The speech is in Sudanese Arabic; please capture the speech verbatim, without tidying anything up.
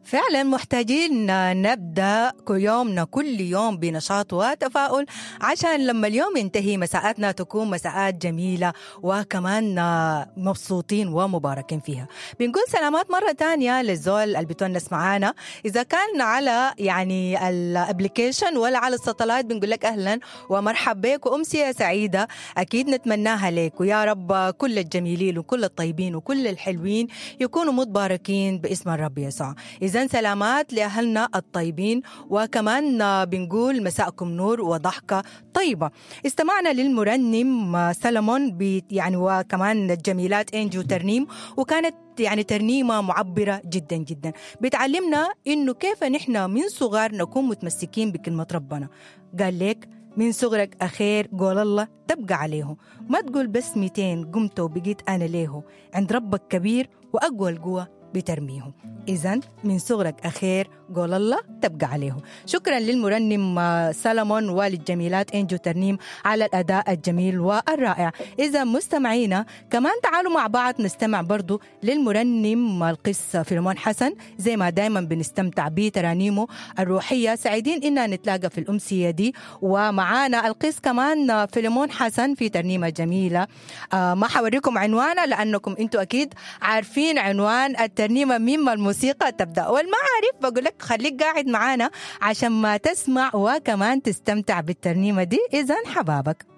فعلا محتاجين نبدا يومنا كل يوم بنشاط وتفاؤل، عشان لما اليوم ينتهي مساءاتنا تكون مساءات جميلة وكمان مبسوطين ومباركين فيها. بنقول سلامات مرة تانية للزول اللي بتونس معانا، إذا كان على يعني ال application ولا على ال satellite، بنقول لك أهلا ومرحب بك وأمسية سعيدة أكيد نتمناها لك، ويا رب كل الجميلين وكل الطيبين وكل الحلوين يكونوا متباركين باسم الرب يسوع. إذا سلامات لأهلنا الطيبين، وكمان بنقول مساءكم نور وضحكة طيبة. استمعنا للمرنم سلمون يعني وكمان الجميلات إنجي وترنيم، وكانت يعني ترنيمة معبرة جدا جدا، بتعلمنا إنه كيف نحن من صغار نكون متمسكين بكلمة ربنا. قال لك من صغرك أخير قول الله تبقى عليه، ما تقول بس ميتين قمت وبقيت أنا ليه، عند ربك كبير وأقوى القوة بترميه. إذن من صغرك أخير قول الله تبقى عليه. شكرا للمرنم سلمون وللجميلات إنجو ترنيم على الأداء الجميل والرائع. إذا مستمعينا كمان تعالوا مع بعض نستمع برضو للمرنم القس فيلمون حسن، زي ما دايما بنستمتع بترانيمه الروحية. سعيدين إننا نتلاقى في الأمسية دي، ومعانا القس كمان فيلمون حسن في ترنيمة جميلة. آه ما حوريكم عنوانها لأنكم أنتوا أكيد عارفين عنوان الترنيمة مما الموسيقى تبدأ، والما عارف بقول لك خليك قاعد معانا عشان ما تسمع وكمان تستمتع بالترنيمة دي. إذن حبابك.